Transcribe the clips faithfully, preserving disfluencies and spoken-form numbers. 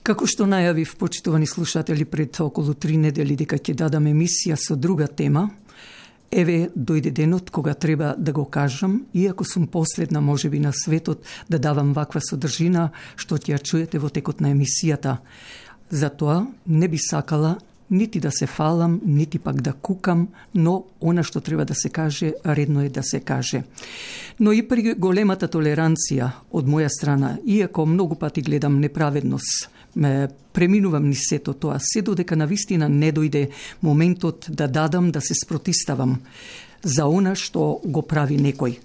Како што најавив, почитувани слушатели, пред околу три недели дека ќе дадам емисија со друга тема, еве дојде денот кога треба да го кажам, иако сум последна можеби на светот да давам ваква содржина што ќе ја чуете во текот на емисијата. Затоа не би сакала нити да се фалам, нити пак да кукам, но она што треба да се каже, редно е да се каже. Но и при големата толеранција од моја страна, иако многу пати гледам неправедност, ме преминувам ни сето тоа, се додека навистина не дојде моментот да дадам да се спротиставам за она што го прави некој.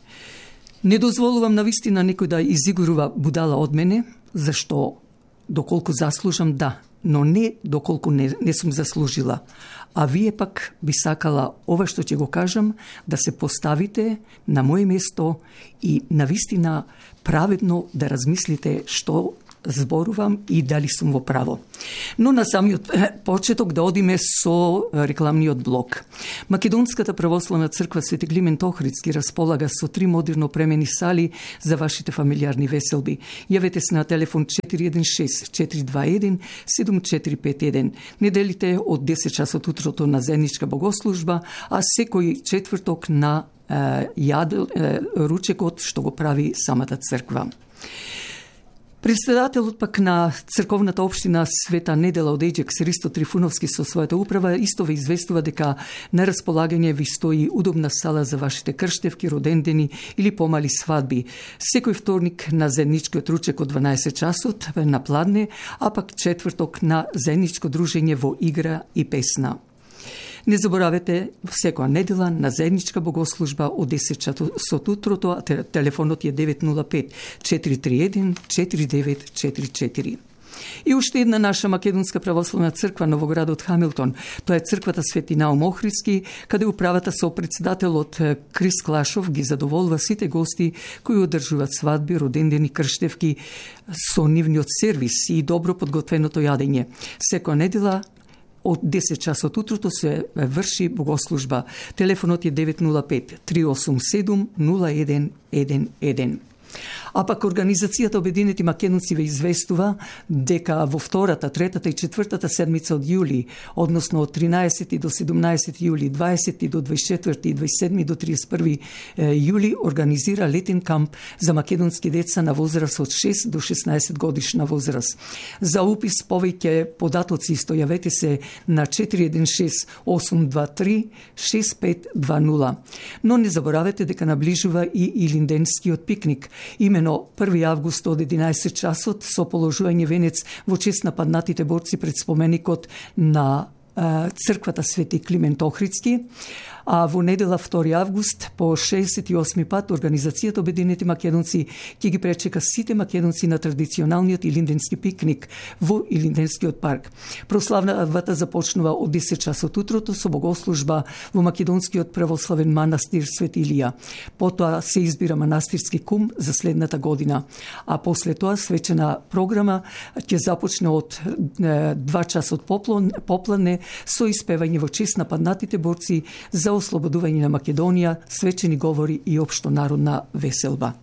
Не дозволувам навистина некој да изигрува будала од мене, зашто доколку заслужам, да, но не доколку не, не сум заслужила. А вие пак би сакала ова што ќе го кажам да се поставите на моје место и навистина праведно да размислите што зборувам и дали сум во право. Но на самиот почеток да одиме со рекламниот блок. Македонската православна црква Свети Климент Охридски располага со три модерно премени сали за вашите фамилиарни веселби. Јавете се на телефон четири еден шест четири два еден седум четири пет еден. Неделите од десет часот утрото на заедничка богослужба, а секој четврток на е, јад, е, ручекот што го прави самата црква. Председателот пак на црковната општина Света Недела од Еџек Сристо Трифуновски со својата управа исто ве известува дека на располагање ви стои удобна сала за вашите крштевки, родендени или помали свадби. Секој вторник на заедничкиот ручек од дванаесет часот на Пладне, а пак четврток на заедничко дружење во игра и песна. Не заборавете, секоја недела на заедничка богослужба од десет часот утрото, а телефонот е девет нула пет четири три еден четири девет четири четири. И уште една наша македонска православна црква Новоградот Хамилтон. Тоа е црквата Свети Наум Охридски, каде управата со председателот Крис Клашов ги задоволува сите гости кои одржуваат свадби, родендени, крштевки со нивниот сервис и добро подготвеното јадење. Секоја недела од десет часот утрото се врши богослужба. Телефонот е девет нула пет три осум седум нула еден еден еден. А пак Организацијата Обединети македонци ве известува дека во втората, третата и четвртата седмица од јули, односно од тринаесети до седумнаесети јули, дваесети до дваесет и четврти и дваесет и седми до триесет и први јули организира летен камп за македонски деца на возраст од шест до шеснаесет годишна возраст. За упис повеќе податоци исто јавете се на четири еден шест осум два три шест пет два нула. Но не заборавете дека наближува и Илинденскиот пикник. Имено први август од единаесет часот со положување венец во чест на паднатите борци пред споменикот на црквата Свети Климент Охридски, а во недела втори август по шеесет и осми пат Организацијата Обединети македонци ќе ги пречека сите македонци на традиционалниот илинденски пикник во Илинденскиот парк. Прославата започнува од десет часот утрото со богослужба во македонскиот православен манастир Свети Илија. Потоа се избира манастирски кум за следната година, а после тоа свечена програма ќе започне од два часот попладне со испевање во чест на паднатите борци за ослободување на Македонија, свечени говори и општо народна веселба.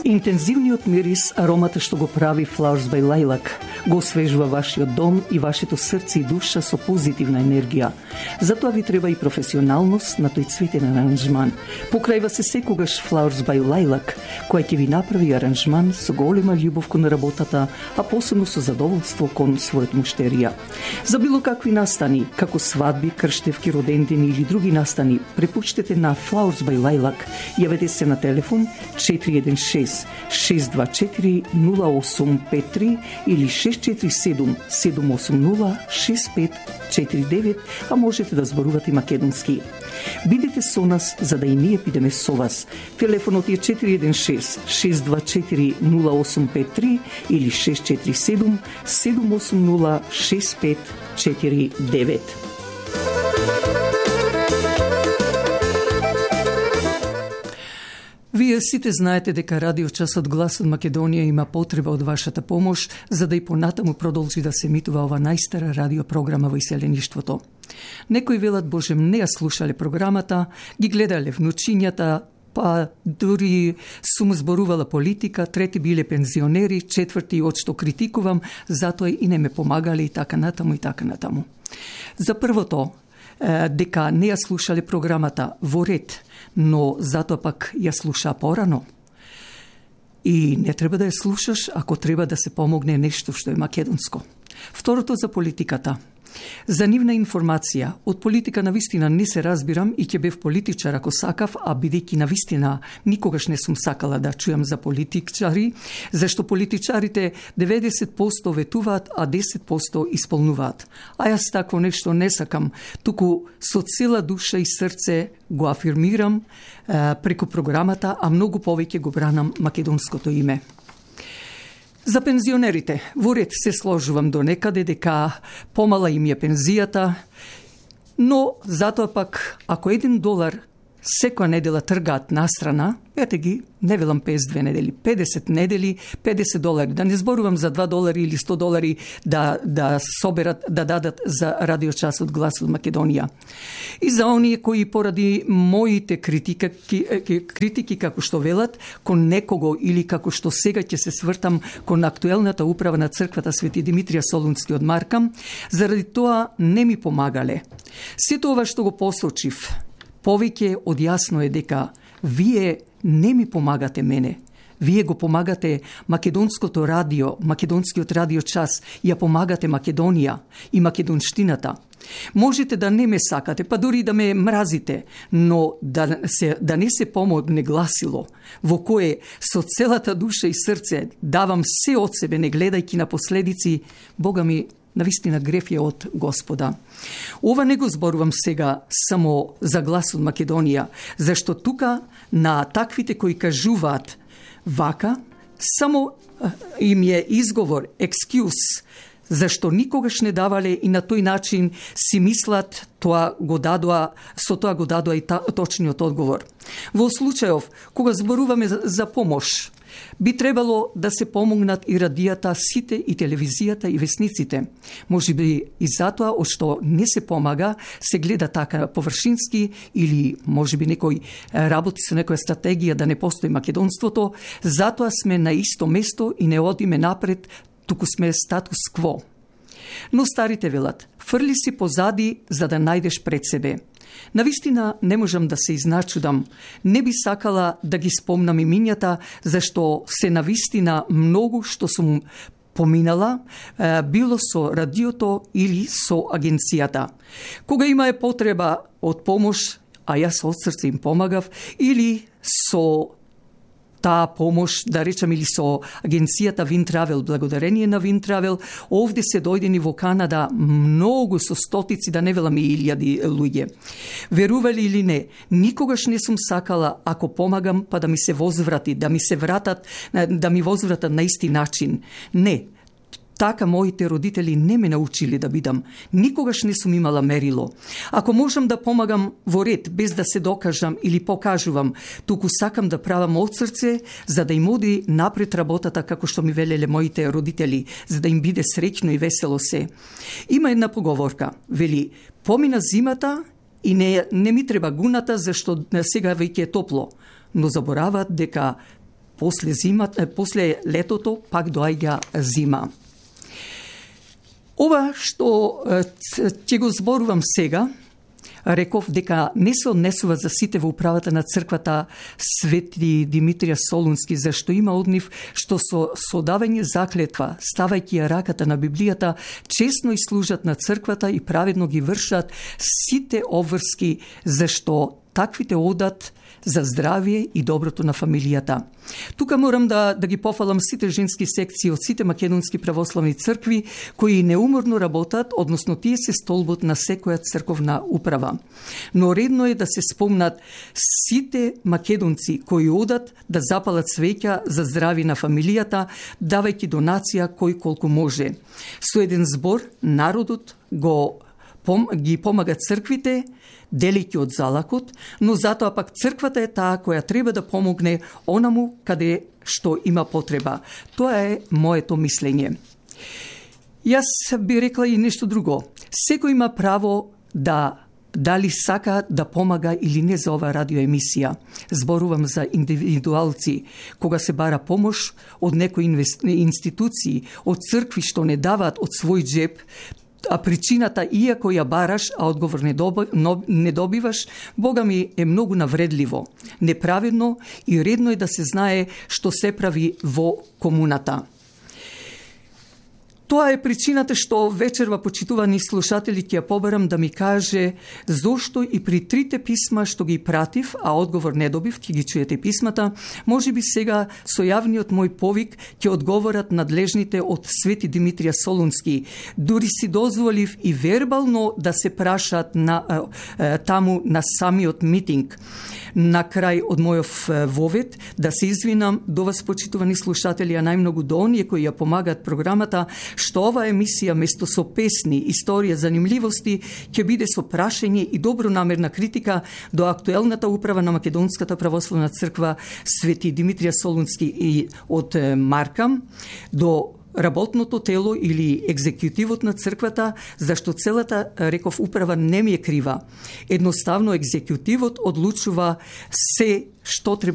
Интензивниот мирис, аромата што го прави Flowers by Lilac, го освежува вашиот дом и вашето срце и душа со позитивна енергија. Затоа ви треба и професионалност на тој цветен аранжман. Покрајва се секогаш Flowers by Lilac, која ќе ви направи аранжман со голема љубов кон работата, а посебно со задоволство кон својот муштерија. За било какви настани, како свадби, крштевки, родендени или други настани, препуштете на Flowers by Lilac. Јавете се на телефон четири еден шест шест два четири нула осум пет три или шест четири седум седум осум нула шест пет четири девет, а можете да зборувате македонски. Бидете со нас за да и ние бидеме со вас. Телефонот е четири еден шест шест два четири нула осум пет три или шест четири седум седум осум нула шест пет четири девет. Вие сите знаете дека Радио Часот Глас од Македонија има потреба од вашата помош за да и понатаму продолжи да се емитува ова најстара радиопрограма во иселеништвото. Некои велат, Боже, не ја слушале програмата, ги гледале внучињата, па дури сум зборувала политика, трети биле пензионери, четврти од што критикувам, затоа и не ме помагали и така натаму и така натаму. За првото, дека не ја слушале програмата во ред, но затоа пак ја слуша порано. И не треба да ја слушаш ако треба да се помогне нешто што е македонско. Второто за политиката. За нивна информација, од политика на вистина не се разбирам и ќе бев политичар ако сакав, а бидејќи на вистина никогаш не сум сакала да чујам за политичари, зашто политичарите деветдесет проценти ветуваат, а десет проценти исполнуваат. А јас такво нешто не сакам, туку со цела душа и срце го афирмирам е, преку програмата, а многу повеќе го бранам македонското име. За пензионерите, во ред се сложувам до некаде дека помала им е пензијата, но затоа пак, ако еден долар секоја недела тргаат настрана, ете ги, не велам петдесет и две недели, педесет недели, педесет долари, да не зборувам за два долари или сто долари да, да соберат, да дадат за радиочасот Глас од Македонија. И за оние кои поради моите критики, критики како што велат, кон некого или како што сега ќе се свртам кон актуелната управа на црквата Свети Димитрија Солунски од Маркам, заради тоа не ми помагале. Сето ова што го посочив, повеќе од јасно е дека вие не ми помагате мене. Вие го помагате македонското радио, македонскиот радиочас, ја помагате Македонија и македонштината. Можете да не ме сакате, па дури да ме мразите, но да, се, да не се помогне гласило, во кое со целата душа и срце давам се од себе, не гледајќи на последици, Бога ми, навистина греф е од Господа. Ова не го зборувам сега само за Глас од Македонија, зашто тука на таквите кои кажуваат вака, само им е изговор, екскюз, зашто никогаш не давале и на тој начин си мислат тоа го дадоа, со тоа го дадоа и та, точниот одговор. Во случајов, кога зборуваме за, за помош, би требало да се помогнат и радијата, сите и телевизијата и весниците. Може би и затоа, од што не се помага, се гледа така површински или може би некој работи со некоја стратегија да не постои македонството, затоа сме на исто место и не одиме напред, туку сме статус кво. Но старите велат, фрли си позади за да најдеш пред себе. Навистина не можам да се изначудам. Не би сакала да ги спомнам имињата, зашто се навистина многу што сум поминала, било со радиото или со агенцијата. Кога има е потреба од помош, а јас од срце им помагав, или со таа помош, да речам, или со агенцијата Винтравел, благодарение на Винтравел, овде се дојдени во Канада многу со стотици, да не велам и илјади луѓе. Верували или не, никогаш не сум сакала, ако помагам, па да ми се возврати, да ми се вратат, да ми возвратат на исти начин. Не. Така моите родители не ме научили да бидам. Никогаш не сум имала мерило. Ако можам да помагам во ред, без да се докажам или покажувам, туку сакам да правам од срце, за да им оди напред работата, како што ми велеле моите родители, за да им биде среќно и весело се. Има една поговорка, вели, помина зимата и не, не ми треба гуната, зашто сега веќе е топло. Но забораваат дека после, зимата, после летото пак доаѓа зима. Ова што ќе го зборувам сега, реков дека не се однесува за сите во управата на црквата Свети Димитрија Солунски, зашто има од нив што со содавање заклетва, ставајќи ја раката на Библијата, честно и служат на црквата и праведно ги вршат сите обврски, зашто таквите одат за здравие и доброто на фамилијата. Тука морам да, да ги пофалам сите женски секции од сите македонски православни цркви, кои неуморно работат, односно тие се столбот на секоја црковна управа. Но редно е да се спомнат сите македонци кои одат да запалат свеќа за здрави на фамилијата, давајќи донација кој колку може. Со еден збор, народот го пом, ги помага црквите, делики од залакот, но затоа пак црквата е таа која треба да помогне онаму каде што има потреба. Тоа е моето мислење. Јас би рекла и нешто друго. Секој има право да дали сака да помага или не за оваа радиоемисија. Зборувам за индивидуалци, кога се бара помош од некои институции, од цркви што не даваат од свој джеб, а причината, иако ја бараш, а одговор не, доби, не добиваш, Бога ми е многу навредливо, неправедно и редно е да се знае што се прави во комуната. Тоа е причината што вечерва, почитувани слушатели, ќе ја побарам да ми каже зошто и при трите писма што ги пратив, а одговор не добив, ќе ги чуете писмата, може би сега со јавниот мој повик ќе одговорат надлежните од Свети Димитрија Солунски. Дури си дозволив и вербално да се прашаат на, таму на самиот митинг. На крај од мојов вовет да се извинам до вас, почитувани слушатели, а најмногу до оние кои ја помагаат програмата, што ова емисија место со песни, историја, занимливости ќе биде со прашање и добронамерна критика до актуелната управа на Македонската православна црква Свети Димитрија Солунски и од Маркам, до работното тело или екзекутивот на црквата, зашто целата, реков, управа не ми е крива. Едноставно екзекутивот одлучува се што треба